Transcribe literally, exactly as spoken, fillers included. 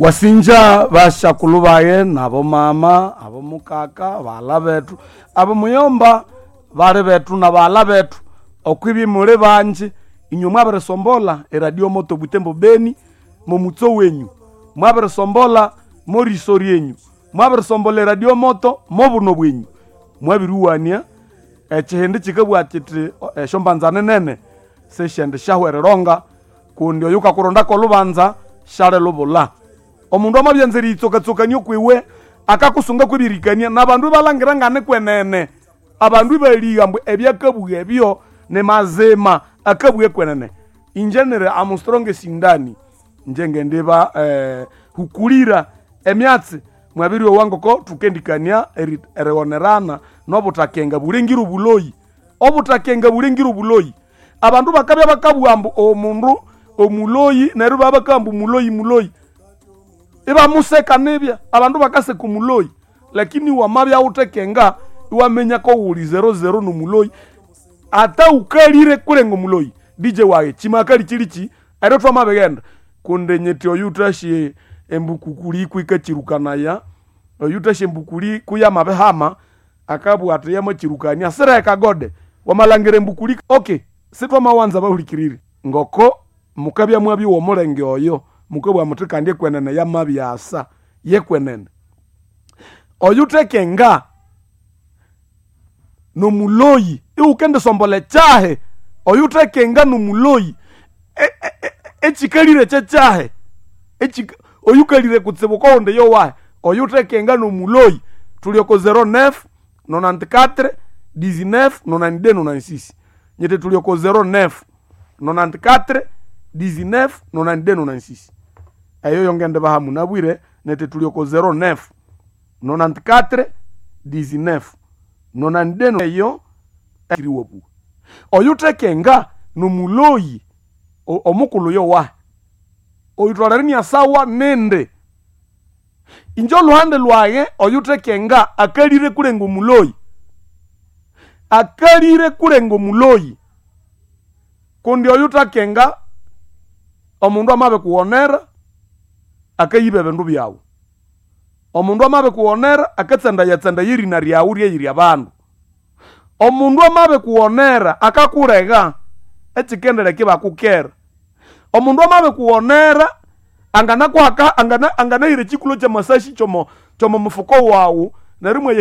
Wasinja bashakulu baye nabo mama abo mukaka bala bethu abo muyomba bali bethu na bala bethu okwibi muli banji inywe mwabirisombola eradio moto Butembo Beni momutso wenyu mwabirisombola moriso ryenyu mwabirisombola eradio moto mobuno bwenyu mwabiriwania ekihindi kikabugha kiti esyombanza nene sisyendi syahwereronga kundi oyu kakurondako olubanza syalilubula. Omundu amabyanza eriyitsokatsokania okwiwe akakusunga kwebirikania nabandu ibalangira ngane kwenene abandu ibaligha ambu ebyakabugha ebyo ni mazima akabugha kwenene. Inje niri am strongest ndani inje ngendiba eh, hukulira emyatsi mwabiryowa ngoko thukendikania eri- erighonerana nobuthakenga bulengire obuloyi. Obuthakenga bulengire obuloyi. Abandu bakabya bakabugha ambu omundu omuloyi neryo ibabya bakabugha ambu muloyi muloyi ibamuseka nibya abandu bakaseka omuloyi lakini wamabya wuthekenga iwaminya kowuli zero zero nomuloyi ata ukalire kulenga omuloyi D J wayi chimakali chilichi eryo twamabighenda kundi nyiti oyu wuthasye embukukuli kwikachirukanaya oyu wuthasye embukuli kuyamabihama akabugha athi yamakyirukania sireka gode wamalhangira embukuli. Okay, sithwamawanza bahulikiriri ngoko mukabya mwabyowa omulenge oyo mukabugha muthi kandi ekwenene yamabyasa yekwenene. Oyu wuthekenga nomuloyi iwukendisombola ekyahi oyu wuthekenga nomuloyi ekikalire kyekyahi oyukalire kutsibu kowundi yowahi oyu wuthekenga nomuloyi. Thuli oko zero neuf nonante-quatre dix-neuf nonante-deux nonante-six nyiti thuli oko zero neuf nonante-quatre dix-neuf nonante-deux nonante-six eyo yongendibaha munabwire niti thuli oko zero neuf nonante-quatre dix-neuf nonante-deux eyo eriwabuwa. Oyu wuthekenga nomuloyi omukulhu yowahi oyutholere inyasawa nindi. Inje olhuhande lwayi oyu wuthekenga akalire kulenga omuloyi akalire kulenga omuloyi kundi oyu wuthakenga omundu amabikughonera akayiba ebindu byawu. Omundu amabikughonera akatsandayatsandaya erina ryawu ryeyiri abandu. Omundu amabikughonera akakulega ekikendeleka ibakukera. Omundu amabikughonera anganakuhaka anganahira ekikulho kyamasashi kyomo kyomo mufuko wawu neryo imwaya.